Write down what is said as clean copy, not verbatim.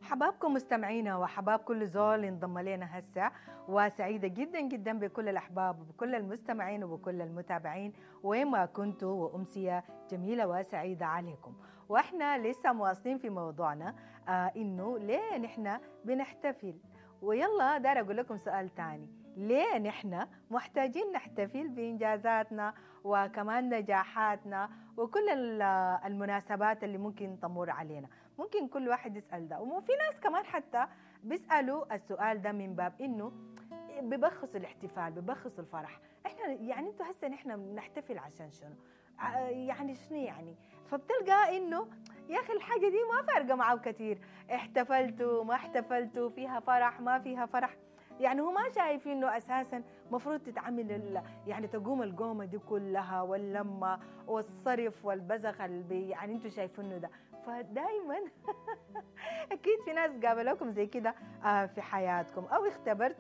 حبابكم مستمعينا وحباب كل زول انضم لنا هسه، وسعيدة جدا جدا بكل الأحباب وبكل المستمعين وبكل المتابعين وين ما كنتوا، وأمسية جميلة وسعيدة عليكم. وإحنا لسه مواصلين في موضوعنا إنه ليه نحن بنحتفل. ويلا دار أقول لكم سؤال تاني، ليه نحن محتاجين نحتفل بإنجازاتنا وكمان نجاحاتنا وكل المناسبات اللي ممكن تمر علينا؟ ممكن كل واحد يسأل ده، وفي ناس كمان حتى بيسألوا السؤال ده من باب إنه ببخصوا الاحتفال، ببخصوا الفرح. إحنا يعني انتوا هسه نحن بنحتفل عشان شنو؟ يعني شنو يعني؟ فبتلقى إنه يا أخي الحاجة دي ما فارقة معه كتير، احتفلتوا ما احتفلتوا، فيها فرح ما فيها فرح، يعني هو ما شايف إنه أساساً مفروض تتعمل يعني تقوم القومة دي كلها واللمة والصرف والبزخ اللي يعني انتوا شايفينه ده. فدايماً أكيد في ناس قابلوكم زي كده في حياتكم أو اختبرتوا